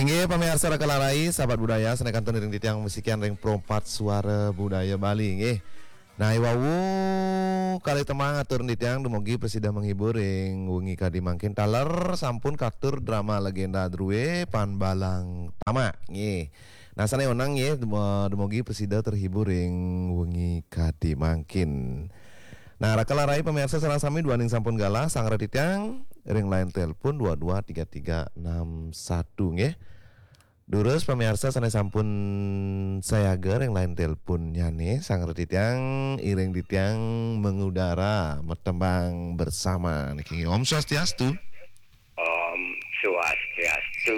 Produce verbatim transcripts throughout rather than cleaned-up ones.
Inggih, pamiarsa Rakalarai, sahabat budaya, sané kantun ring titiang masikian ring Pro empat Suara Budaya Bali, inggih. Nah, i wau kalih tembang atur titiang dumugi prasida menghibur ring wengi kadi mangkin taler sampun katur drama legenda drué Pan Balang Tama, nggih. Nah, sané onang nggih, dum-, dumugi prasida terhibur ring wengi kadi mangkin. Nah, Rakalarai pamiarsa sareng sami duaning sampun galah, sanggra titiang ring line telepon dua dua tiga tiga enam satu, nggih. Durus pamiarsa sané sampun sayaga ring line teleponnyané, sanggra titiang iring titiang mengudara, matembang bersama niki. Om Swastiastu. Om Swastiastu,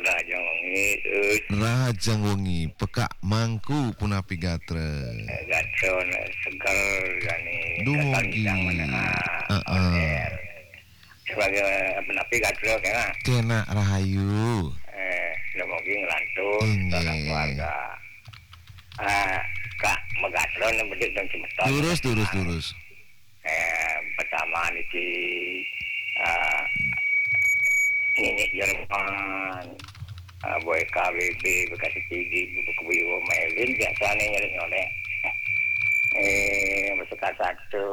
rahajeng wengi, Us. Rahajeng wengi, Pekak Mangku punapi gatra? Gatra seger jani. Dumugi. Kekalintang menengah. Heeh. On air. Sebagai punapi gatra kénak? Kénak rahayu. Eh, dumugi nglantur. Inggih. Sareng keluarga. Ah, Kak Megatra nang bedik dan semeton. Durus, durus, durus. Eh, pertama niki, ah, Nini Jerman, ah, Boy K B B, bekas P D, buku Biwo Melin, biasanya nyolek-nyolek. Eh, bersekat satu,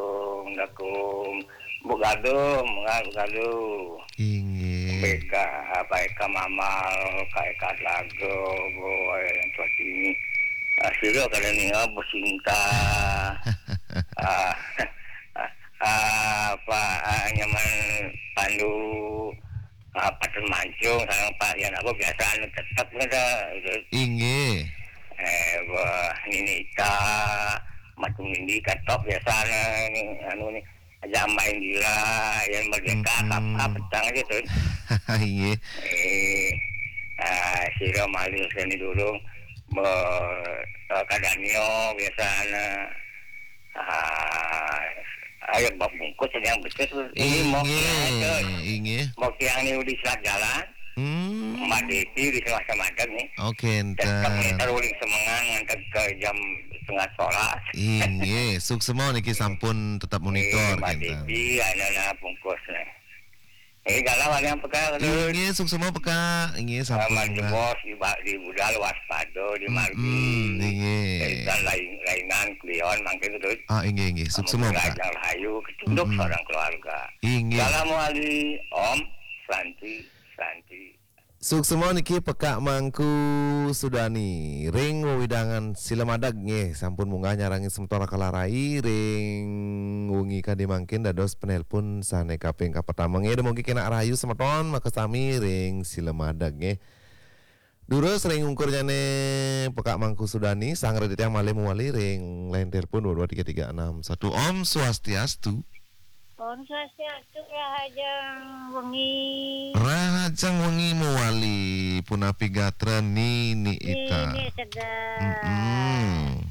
mendukung Bu Gadung, mengal Bu Gadung. Inggih. B K, apa, Eka Mamal, Kak Eka Telaga, boy, yang tua sini. Ah, sira kada ninga besinta. Ah, ah, apa, ah, nyaman pandu, ah, Patut Mancung, sareng Pak Yan apa biasa anu tetep ngono, gitu. Inggih. Eh, wah, Nini Ita, Matu Nindi, Katok biasa anu, anu ni. Aja Mbak Indira, yang merdeka, mm-mm, kap-, kap-, petang aja tuh. Iya. Eh, ah, sira malih seni dulu, me-, eh, kadanio biasana. Ah, ayo bak bungkus yang betul tuh. Ini mau kiang itu. Inggih, inggih. Mau kiang ini udah selat jalan. Hmm. Mbak Devi di Selat Semadeg nih. Oke, tetap enten. Muter uling Semengan ngantek ke jam setengah sebelas. Inggih, suksema niki sampun tetap monitor, Mbak kinten. Devi, anak-anak bungkus nih. Ini galau ada yang peka, aduh. Inggih, suksema peka. Inggih, sampun. Selamat jebos di ba-, di budal waspada, di margi. Mm-mm, inggih. Dan lain, lainan kelion mangkin, aduh. Ah, inggih, inggih. Suksema peka. Yang rahayu, ketunduk seorang keluarga. Inggih. Salam wali, Om Santi, Santi. Suksema niki Pekak Mangku Sudani ring wewidangan Silamadeg nggih, sampun munggah nyarengin semeton Rakalarai ring wengi kadi mangkin dados penelpon sane kaping kapertama nggih. Dumugi kenak rahayu semeton makasami ring Silamadeg nggih. Durus ring ungkurnyane Pekak Mangku Sudani, sanggra titiang malih mawali ring line telepon dua dua tiga tiga enam satu. Om Swastiastu. Om Swastiastu, rahajeng wengi. Rahajeng wengi mawali, punapi gatra Nini Ita? Nini seger. Mm-mm.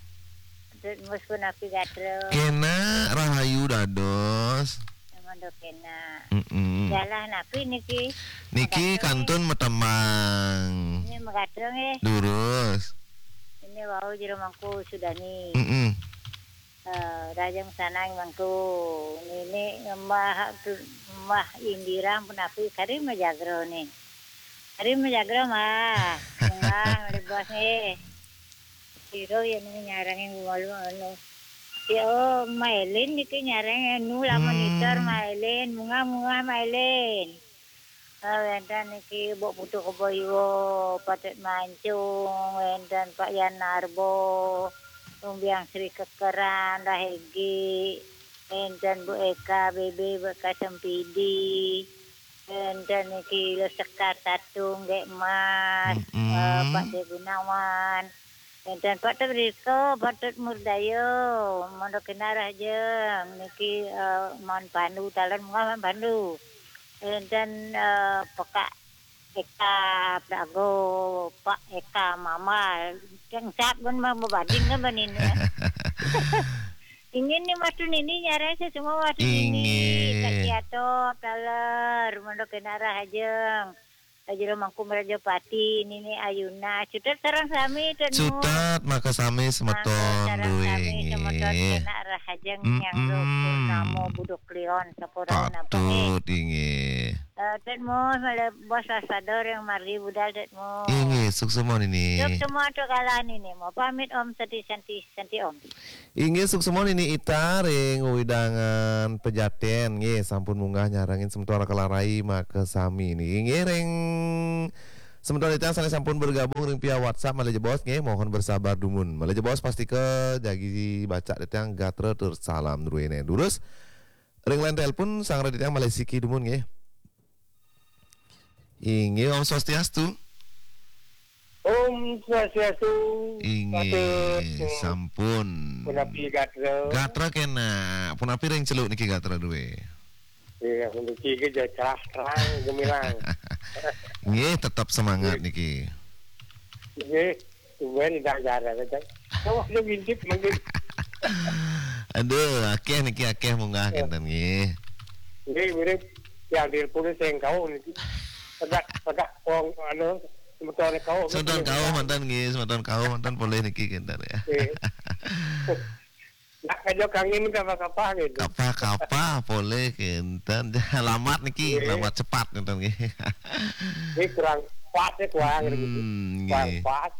Dut Mus punapi gatra? Kenak rahayu dados. Mangda kenak. Mm-mm. Galah napi niki? Niki kantun matembang. Ini magatra nggih. Durus. Ini wau Jero Mangku Sudani. Mm-mm. Eh, rahajeng sanang Mangku. Nini Mbah, Mbah Indira punapi kari majagra nih. Kari majagra, Mbah. Enggak, ngalih bos nih. Sira yen nyarengin malu anu. Ya, oh, Mailin niki nyareng anu lah monitor Mailin, munggah-munggah Mailin. Eh, wenten niki Mbok Putu Kebo Iwa, Patut Mancung, wenten Pak Yan Narbo, Lumbiang Sri Kekeran, Rahegi, wenten Bu Eka, B B, Bu Eka Sempidi, wenten niki Lo Sekar Tatung, Gek Mas, eh, Pak De Gunawan, wenten Pak Tedriko, Pak Tut Murdayo, mangda kenak rahajeng niki, eh, Man Pandu, taler munggah Man Pandu. Wenten, eh, Pekak Eka Prago, Pak Eka Mamal. Yang sap kan mah mabading kan banini. Ingin nih Mas Tunini nyareng saya semua Mas Tunini. Inggih. Kak Ciato, taler, mangda kenak rahajeng. Jero Mangku Mrajapati, Nini Ayuna, cutet sareng sami, Tut Mus. Cutet, makasami semeton. Mangga sareng sami, duwé, nggih. Nggih. Kena rahajeng nyang Mm-mm. Purnama Buduk Kliwon, sampun rauh napa, nggih? Patut, inggih. Eh, Tet Mus, malih bos wasada ring margi budal, Tet Mus. Inggih, suksma nini. Suksma atur kala nini, mau pamit, Om Santi, Santi, Santi, Om. Inggih, suksma nini Ita ring wewidangan Pejaten, nggih, sampun munggah nyarengin semeton Raka Larai makasami niki. Inggih, ring semeton Ita sane sampun bergabung ring via WhatsApp, malih jebos, nggih, mohon bersabar dumun. Malih jebos, pastika jagi baca titiang gatra tur salam druene. Durus, ring line telepon, sang titiang malih siki dumun, nggih. Inggih, Om Swastiastu. Om Swastiastu. Inggih, patut, sampun. Punapi gatra? Gatra kena. Punapi ring Celuk niki gatra due? Iya, niki ke cerah terang gemilang. Nggih, tetap semangat nggih. Niki. Nggih, tumben indah gatra, kan? Kok dia ngintip mungkin. Aduh, akeh niki, akeh munggah, eh, kenten nggih. Nggih, mirip yang telepon sing kau niki. Pedak, pedak wong anu, semeton kau. Semeton kau mantan nggih, semeton kau mantan polih niki kenten ya. Nggih. Nak kajo kangge minta apa-apa gitu. Kapa-kapa polih kenten. Lamat niki, nggih, lamat cepat kenten nggih. Nggih, kurang pas ya, kurang gitu. Hmm, kurang nggih. Pas.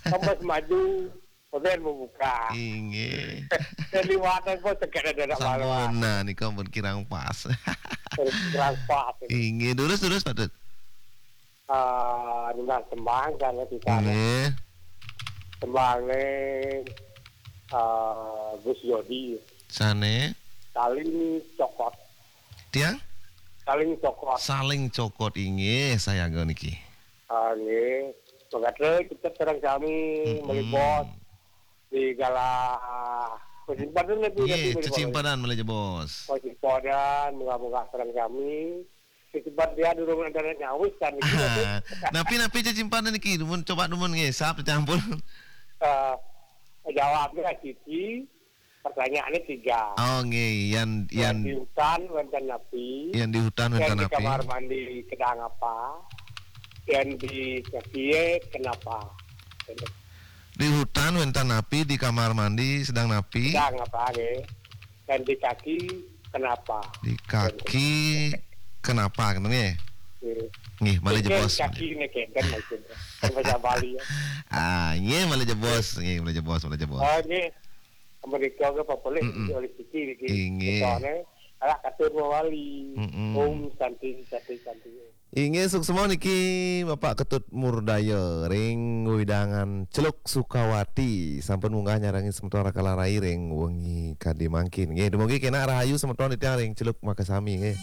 Tambah maju. Kemudian membuka. Inggih. Dan liwatan pun tegak ada nak malu. Sampun, nah, nika pun kirang pas. Terus kirang pas. Inggih, durus, durus, Pak Tut. Ah, nunas tembang kan, kita. Inggih. Tembang nih, ah, Gus Yodi. Sane? Saling cokot. Tiang? Saling cokot. Saling cokot, inggih, sayaga niki. Ah, nggih. Mangga kita terang kami, mm-mm, malih bos. Di gala kesimpanan lebih, iya, lebih, lebih cecimpanan malih jebos. Kesimpanan, moga-moga terang kami. Kesimpan dia durung ada nyawis kan, gitu. Ah, napi-napi cecimpanan niki? Dumun, coba dumun nggih, sap campur. Eh, jawabnya siji, pertanyaannya tiga. Oh, nggih, yan, yan, yan di hutan wenten napi? Yan di hutan wenten napi? Yan di kamar mandi sedang apa? Yan di kaki kenapa? Di hutan wenten napi, di kamar mandi sedang napi? Sedang apa, nggih? Dan di kaki kenapa? Di kaki kenapa, ngoten nggih? Nggih. Nggih, malih jebos. Kaki niki kan maksudnya. Kan bahasa Bali ya. Ah, nggih, malih jebos, nggih, malih jebos, malih jebos. Oh, nggih. Amerika ke apa boleh, mm-mm, oleh siki niki. Inggih. Soalnya, ala katur mawali. Mm-mm. Om Santi, Santi, Santi. Inggih, suksma niki Bapak Ketut Murdaya ring wewidangan Celuk Sukawati. Sampun munggah nyarengin semeton Raka Larai ring wengi kadi mangkin. Nggih, dumugi kenak rahayu semeton titiang ring Celuk makasami nggih.